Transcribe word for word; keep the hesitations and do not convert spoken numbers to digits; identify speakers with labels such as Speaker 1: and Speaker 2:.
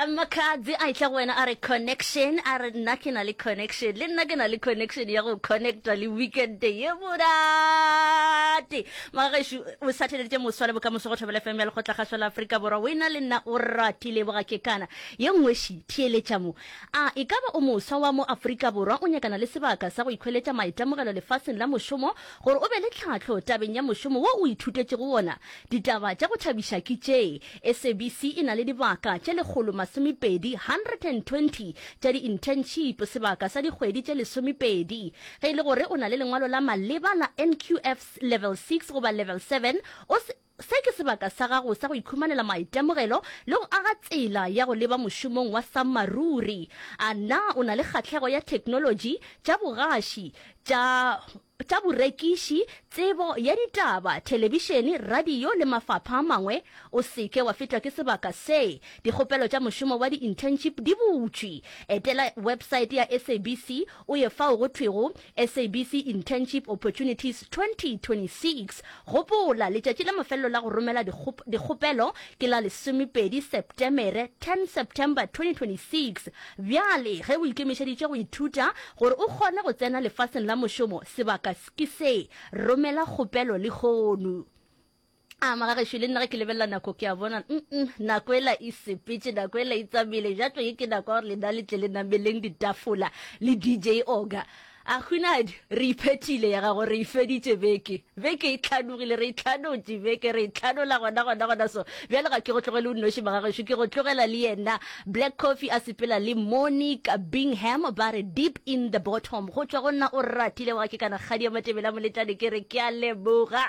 Speaker 1: Makhadzi a etla go wena a re connection, a re nna ke na le connection, le nna ke na le connection ya go connecta le weekend ye monate. Magagešo, o sa theleditše moswa le bokamoso go Thobela F M ya Lekgotlakgašo la Afrika Borwa. Wena le nna o ratile boga ke kana. Ye nngwe ši, theeletša mo. A e ka ba o moswa wa mo Afrika Borwa o nyakana le sebaka sa go ikhweletša maitemogelo lefaseng la mošomo gore o be le tlhahlo tabeng ya mošomo wo o ithutetšego wona? Ditaba tša go thabiša ke tše, S A B C e na le dibaka tše lekgolo masomepedi, one hundred and twenty, tša di-internship sebaka sa dikgwedi tše lesomepedi. Ge e le gore o na le lengwalo la maleba la N Q F level six goba level seven, o se Se ke sebaka sa gago sa go ikhumanela maitemogelo le go aga tsela ya go leba mošomong wa sammaruri. A na o na le kgahlego ya theknolotši, tša bogaši, tša tša borekiši, tsebo ya ditaba, thelebišene, radio le mafapha a mangwe? O se ke wa fetwa ke sebaka se. Dikgopelo tša mošomo wa di-internship di butšwe. Etela websaete ya S A B C o ye fao go thwego S A B C Internship Opportunities twenty twenty-six. Gopola, letšatši la mafelelo la go romela dikgopelo ke la lesomepedi Setemere, ten September twenty twenty-six. Bjale ge o ikemišeditše go ithuta gore o kgone go tsena lefaseng la mošomo, sebaka ke se. Romela kgopelo lehono. A magagešo, le nna ge ke lebelela nako ke a bona mm nako ela e sepetše, nako ela e tsamile. Jatlo ye ke nako ya gore lena le tle le nameleng ditafola le D J Oga. A hunadi re iphethile ya gago, re ifeditše beke, beke e tlhanogile, re e tlhanotše beke, re e tlhanola gona gona gona. So bjale ga ke go tlogele o nnoši, magagešo, ke go tlogela le yena Black Coffee a sepela le Monique Bingham, ba re "Deep in the Bottom". Go tšwa go nna o ratile wa ke kana kgadi ya Matebele a Moletlane, ke re ke a leboga.